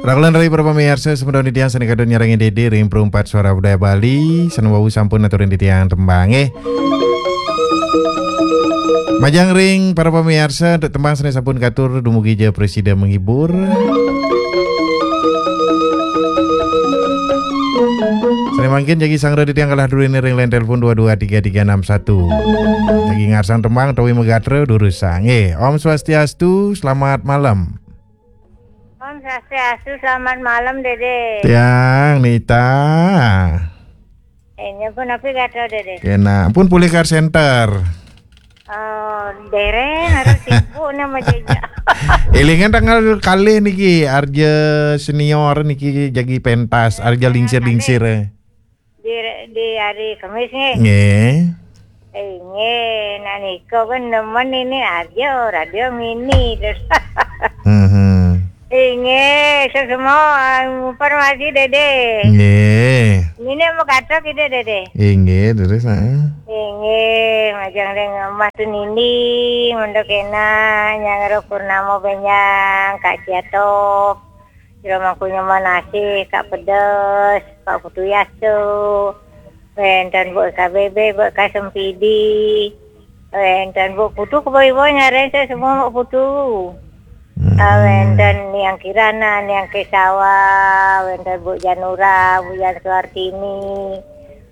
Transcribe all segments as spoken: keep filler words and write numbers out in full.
Rakelan rai para pamiarsa, semeton titiang sane kadon nyarengin Dede ring Perumpat Suara Budaya Bali, sane wau sampun aturin titiang tembang, eh. Majeng ring para pamiarsa, untuk tembang sane sampun katur, dumugi ja prasida menghibur. Sane mangkin jagi sangra titiang kalah durine ring line telepon dua dua tiga tiga enam satu. Jagi ngarsang tembang utawi magatra durusang, eh. Om Swastiastu, selamat malam. Om Swastiastu, selamat malam, Dede. Tiang, Nita. Eh, nyebut apa kata, Dede? Kena, pun pulih kar center. Oh, dereng, harus sibuk nama jeja. Elingan tanggal kalih niki, Arja Senior niki jagi pentas, Arja Lingsir-lingsir, eh. Di, di hari Kamis nggih. Nggih. Inggih, nah nika kan nemen ini aja radio mini terus. Mhm. Inggih, semua informasi Dede. Nggih. Ini mau kata kita Dede. Inggih, terus, heeh. Inggih, majeng ring Mas Nini, Mendok Ena, Nyang Ro Purnama Benyang, Kak Ciatok. Sira mangku nyemen asih, Kak Pedes, Pak Putu Yaso, wenten Bu K B B, Bu K Sempidi, wenten Bu Putu, kebawa-bawa nyareng saya semua Bu Putu. Hmm. Ah, wenten Niang Kirana, Niang Kesawa, wenten Bu Janura, Bu Jan Suartini,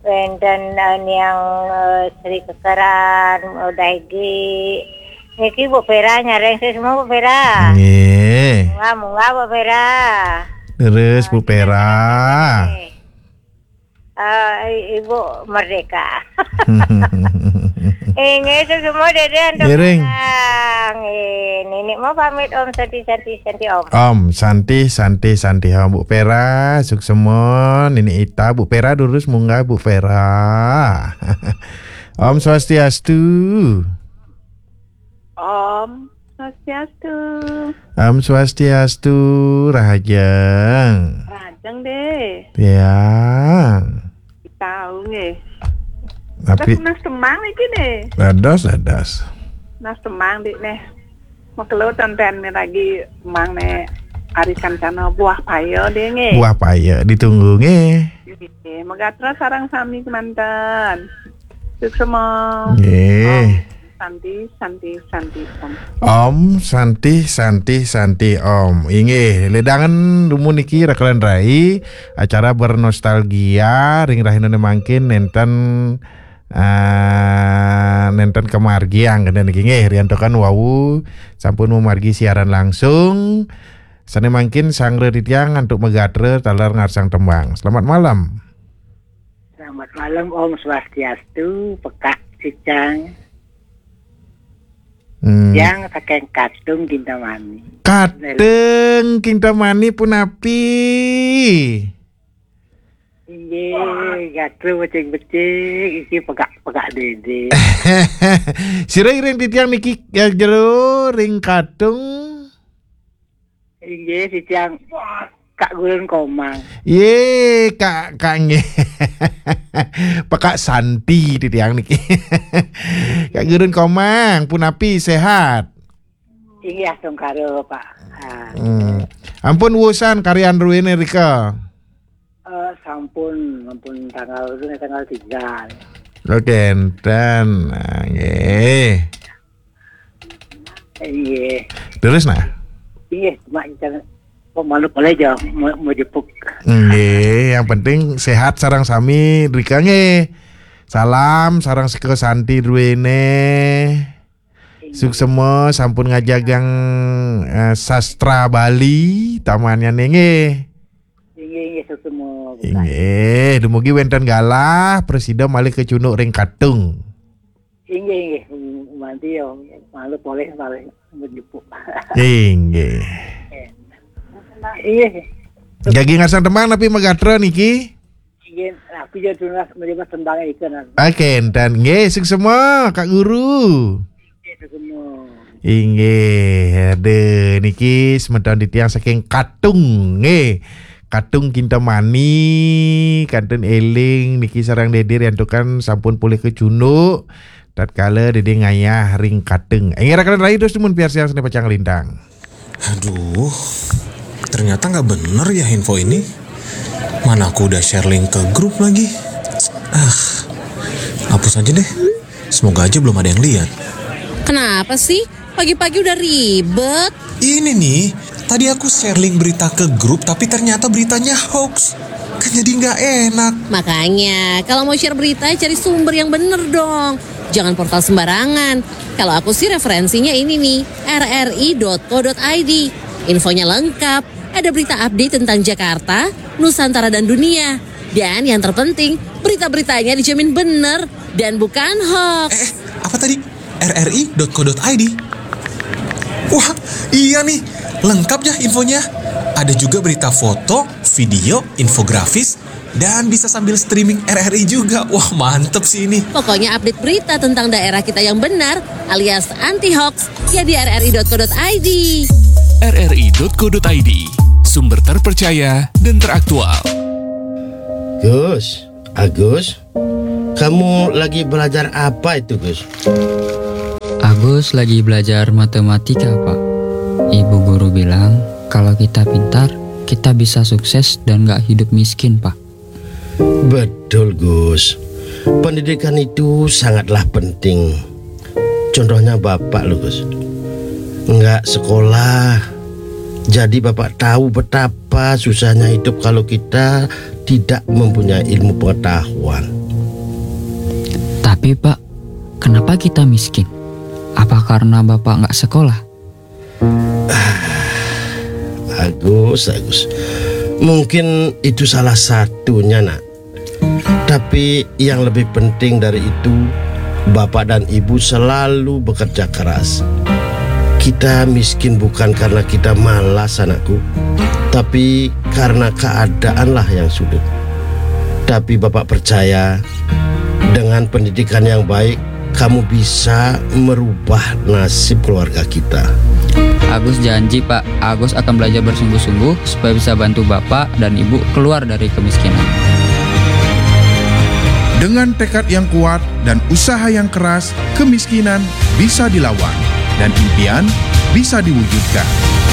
wenten, eh, Niang, eh, Sri Kekeran, udah Egi. Niki Bu Pera nyareng saya semua Bu Pera. Nggih. Munggah, munggah Bu Pera. Terus Bu Pera. Eh, Ibu Merdeka. Inggih, semua Dede antuk. Ngiring. Nggih, Nini mau pamit Om Santi, Santi, Santi Om. Om Santi, Santi, Santi Om. Bu Pera, suksema, Nini Ita, Bu Pera durus munggah Bu Pera. Om Swastiastu. Om Swastiastu. Om Swastiastu, rahajeng. Rahajeng, Dede. Tiang. Tahu nggih. Tapi terus nas temang iki, Dede. Dados, dados. Nas temang, Dik, neh. Makelo tonton lagi temang ne Ari Kancana Buah Paya, Dede, nggih. Buah Paya ditunggu, nggih. Nggih, megatra sareng sami kemanten. Suksema. Nggih. Om Santi, Santi, Santi, Om. Om Santi, Santi, Santi, Om. Inggih, ledangan dumun niki rakelan rai, acara bernostalgia ring rahinane mangkin nenten, ah, nenten kamargiang kenten niki nggih, riantukan wau sampun mamargi siaran langsung. Sane mangkin sanggra titiang antuk megatra taler ngarsang tembang. Selamat malam. Selamat malam, Om Swastiastu, Pekak Cicang. Hmm. Yang saking Katung Kintamani. Katung Kintamani punapi? Inggih, gatra becik-becik, iki pegak-pegak Dede. Sira iring titiang niki, ya, jero ring Katung. Inggih, titiang Kak Gurun Komang. Ye, Kak, Kak nggih. Pekak Santi titiang niki. Kak Gurun Komang, punapi sehat? Inggih, astungkara, Pak. Ah. Hmm. Ampun wusan karyan druene rika? Eh, sampun, sampun tanggal, tanggal tiga. Oke, enten. Nah, nggih. Inggih. Terus, nah? Inggih, cuma jangan kok malu boleh aja mau, mau jepuk. Nggih, yang penting sehat sareng sami rika nggih. Salam sareng Seka Santi druene. Suksema sampun ngajagang, eh, sastra Bali, tamannya nggih. Inggih, inggih, suksema. Inggih, dumugi wenten galah, prasida malih kecunduk ring Katung. Inggih, inggih, manti ya, malu polih, malih menjepuk. Inggih. Inggih. Jagi ngarsang tembang napi megatra niki? Inggih, aku ya tunas menerima tembang itu, nah. Oke, enten nggih, suksema, Kak Guru. Inggih, suksema. Inggih, aduh, niki semeton titiang saking Katung, nggih. Katung Kintamani, kantun eling, niki sareng Dede riantukan sampun polih kecunduk, tatkala Dede ngayah ring Katung. Inggih, rakan rai terus timun piarsiang sane pacang lintang. Aduh, Ternyata nggak bener ya info ini. Mana aku udah share link ke grup lagi. Ah, hapus aja deh. Semoga aja belum ada yang lihat. Kenapa sih? Pagi-pagi udah ribet. Ini nih, tadi aku share link berita ke grup tapi ternyata beritanya hoax. Kan jadi nggak enak. Makanya, kalau mau share berita, cari sumber yang bener dong. Jangan portal sembarangan. Kalau aku sih referensinya ini nih, rri.co.id. Infonya lengkap. Ada berita update tentang Jakarta, Nusantara dan dunia. Dan yang terpenting, berita-beritanya dijamin bener dan bukan hoax. Eh, apa tadi? rri.co.id. Wah, iya nih, lengkap ya infonya. Ada juga berita foto, video, infografis, dan bisa sambil streaming R R I juga. Wah, mantep sih ini. Pokoknya update berita tentang daerah kita yang benar alias anti hoax ya di rri.co.id. rri.co.id, sumber terpercaya dan teraktual. Gus, Agus, kamu lagi belajar apa itu, Gus? Agus lagi belajar matematika, Pak. Ibu guru bilang, kalau kita pintar, kita bisa sukses dan nggak hidup miskin, Pak. Betul, Gus. Pendidikan itu sangatlah penting. Contohnya Bapak loh, Gus. Nggak sekolah. Jadi Bapak tahu betapa susahnya hidup kalau kita tidak mempunyai ilmu pengetahuan. Tapi, Pak, kenapa kita miskin? Apa karena Bapak nggak sekolah? Agus, Agus. Mungkin itu salah satunya, Nak. Tapi yang lebih penting dari itu, Bapak dan Ibu selalu bekerja keras. Kita miskin bukan karena kita malas, anakku, tapi karena keadaanlah yang sulit. Tapi Bapak percaya, dengan pendidikan yang baik, kamu bisa merubah nasib keluarga kita. Agus janji, Pak. Agus akan belajar bersungguh-sungguh supaya bisa bantu Bapak dan Ibu keluar dari kemiskinan. Dengan tekad yang kuat dan usaha yang keras, kemiskinan bisa dilawan dan impian bisa diwujudkan.